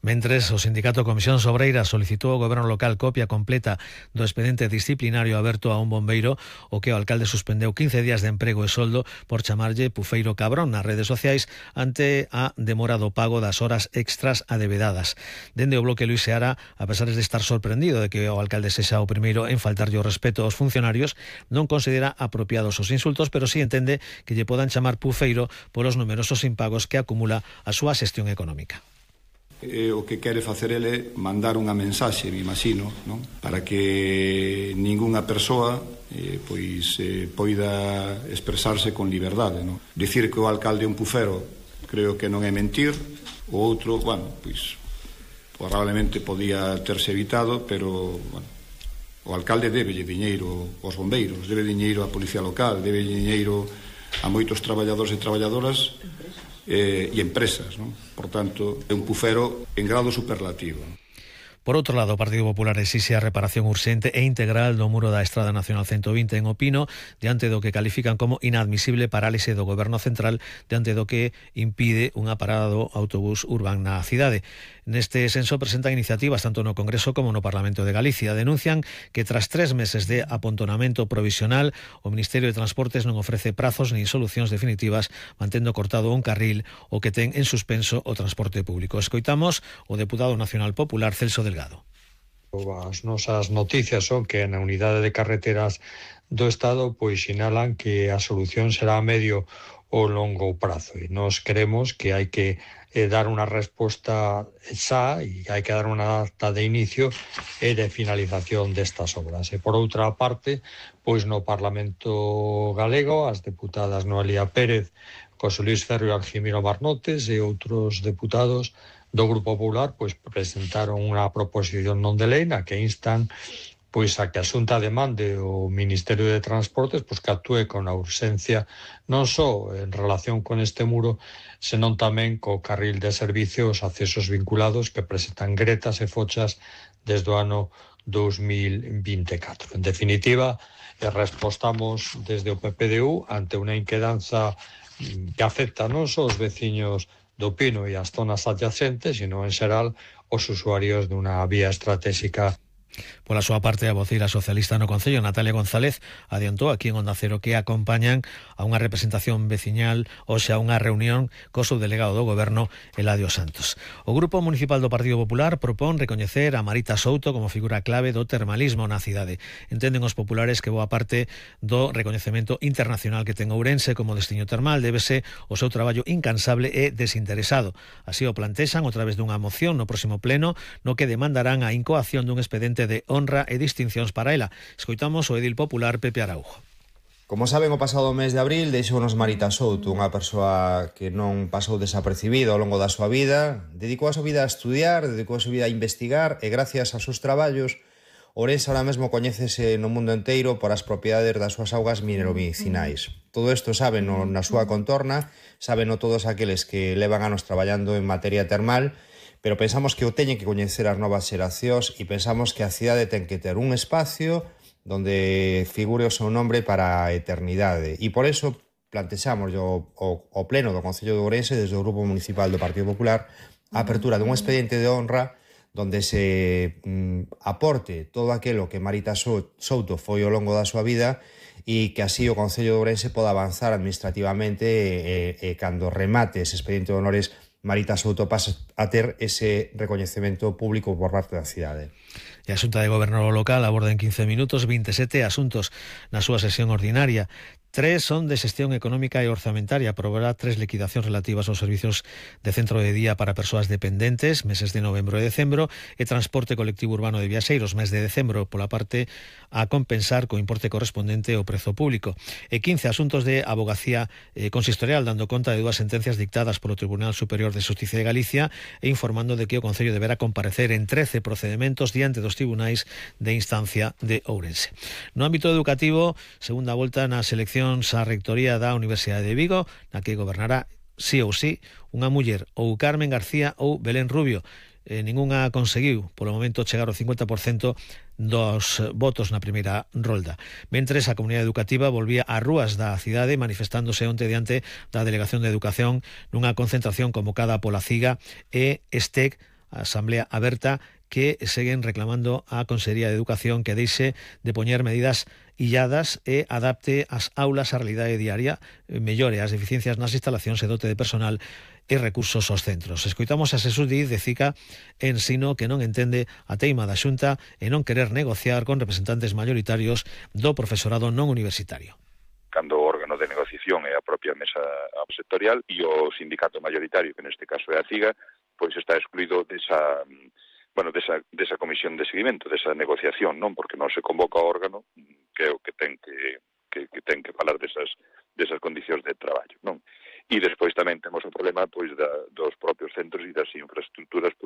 Mentres, o sindicato Comisión Obreira solicitou ao goberno local copia completa do expediente disciplinario aberto a un bombeiro, o que o alcalde suspendeu 15 días de emprego e soldo por chamarlle pufeiro cabrón nas redes sociais ante a demora do pago das horas extras adevedadas. Dende o bloque Luís Seara, a pesar de estar sorprendido de que o alcalde sexa o primeiro en faltarlle o respeto aos funcionarios, non considera apropiados os insultos, pero sí entende que lle podan chamar pufeiro polos numerosos impagos que acumula a súa xestión económica. O que quere facer ele mandar unha mensaxe, me imagino, non? Para que ningunha persoa poida expresarse con liberdade, non? Dicir que o alcalde é un pufero creo que non é mentir. O outro, probablemente podía terse evitado, pero o alcalde débelle diñeiro aos bombeiros, debe diñeiro á policía local, debe diñeiro a moitos traballadores e traballadoras e empresas, non? Por tanto, é un pufero en grado superlativo. Por outro lado, o Partido Popular exixe a reparación urxente e integral do muro da Estrada Nacional 120 en Opino, diante do que califican como inadmisible parálise do Goberno Central, diante do que impide unha parada do autobús Urban na cidade. Neste senso presentan iniciativas tanto no Congreso como no Parlamento de Galicia. Denuncian que tras 3 meses de apontonamento provisional, o Ministerio de Transportes non ofrece prazos nin solucións definitivas, mantendo cortado un carril o que ten en suspenso o transporte público. Escoitamos o deputado nacional popular Celso Delgado. As nosas noticias son que na unidade de carreteras do Estado sinalan que a solución será a medio ou longo prazo, e nós creemos que hai que dar unha resposta xa e hai que dar unha data de inicio e de finalización destas obras. E por outra parte, no Parlamento galego, as deputadas Noelia Pérez, José Luis Ferro e Argimiro Marnotes e outros deputados do Grupo Popular presentaron unha proposición non de lei na que instan a que a Xunta demande o Ministerio de Transportes que actúe con a urxencia non só en relación con este muro, senón tamén co carril de servicio, os accesos vinculados que presentan gretas e fochas desde o ano 2024. En definitiva, respostamos desde o PPDU ante unha inquedanza que afecta non só os veciños do Pino e as zonas adyacentes, sino en xeral os usuarios dunha vía estratégica. Pola súa parte, a voceira socialista no Concello, Natalia González, adiantou aquí en Onda Cero que acompañan a unha representación veciñal hoxe a unha reunión co subdelegado do Goberno, Eladio Santos. O Grupo Municipal do Partido Popular propón recoñecer a Marita Souto como figura clave do termalismo na cidade. Entenden os populares que boa parte do recoñecemento internacional que ten Ourense como destino termal débese ao seu traballo incansable e desinteresado. Así o plantexan a través dunha moción no próximo pleno no que demandarán a incoación dun expediente de honra e distincións para ela. Escoitamos o edil popular Pepe Araujo. Como saben, o pasado mes de abril deixounos Marita Souto, unha persoa que non pasou desapercibida ao longo da súa vida, dedicou a súa vida a estudiar, dedicou a súa vida a investigar e gracias aos seus traballos, Ourense ahora mesmo coñécese no mundo enteiro por as propiedades das súas augas mineromedicinais. Todo isto saben na súa contorna, saben todos aqueles que levan anos traballando en materia termal, pero pensamos que o teñen que coñecer as novas xeracións e pensamos que a cidade ten que ter un espacio donde figure o seu nombre para a eternidade. E por eso plantexamos o pleno do Concello de Ourense desde o Grupo Municipal do Partido Popular a apertura dun expediente de honra donde se aporte todo aquilo que Marita Souto foi ao longo da súa vida e que así o Concello de Ourense poda avanzar administrativamente e cando remate ese expediente de honores Marita Souto pasa a ter ese recoñecemento público por parte da cidade. E a Xunta de Goberno local aborda en 15 minutos 27 asuntos na súa sesión ordinaria. 3 son de xestión económica e orzamentaria. Aprobará 3 liquidacións relativas aos servizos de centro de día para persoas dependentes, meses de novembro e decembro, e transporte colectivo urbano de viaxeiros, mes de decembro, pola parte a compensar co importe correspondente ao prezo público. E 15 asuntos de abogacía consistorial, dando conta de 2 sentencias dictadas polo Tribunal Superior de Xusticia de Galicia e informando de que o Concello deberá comparecer en 13 procedementos diante dos tribunais de instancia de Ourense. No ámbito educativo, segunda volta nas eleccións a rectoría da Universidade de Vigo, na que gobernará sí ou sí unha muller, ou Carmen García ou Belén Rubio. Ningunha conseguiu, polo momento, chegar ao 50% dos votos na primeira rolda. Mentres, a comunidade educativa volvía ás rúas da cidade manifestándose onte diante da Delegación de Educación nunha concentración convocada pola CIGA e STEC asamblea aberta que seguen reclamando á Consellería de Educación que deixe de poñer medidas illadas e adapte as aulas á realidade diaria, mellore as deficiencias nas instalacións e dote de personal e recursos aos centros. Escoitamos a Xesús Díaz de CICA Ensino que non entende a teima da Xunta e non querer negociar con representantes mayoritarios do profesorado non universitario. Cando o órgano de negociación é a propia mesa sectorial e o sindicato mayoritario, que neste caso é a CIGA, pois está excluído desa comisión de seguimento, desa negociación, non? Porque non se convoca o órgano que é o que ten que falar desas condicións de traballo, non? E despois tamén temos o problema pois dos propios centros e das infraestructuras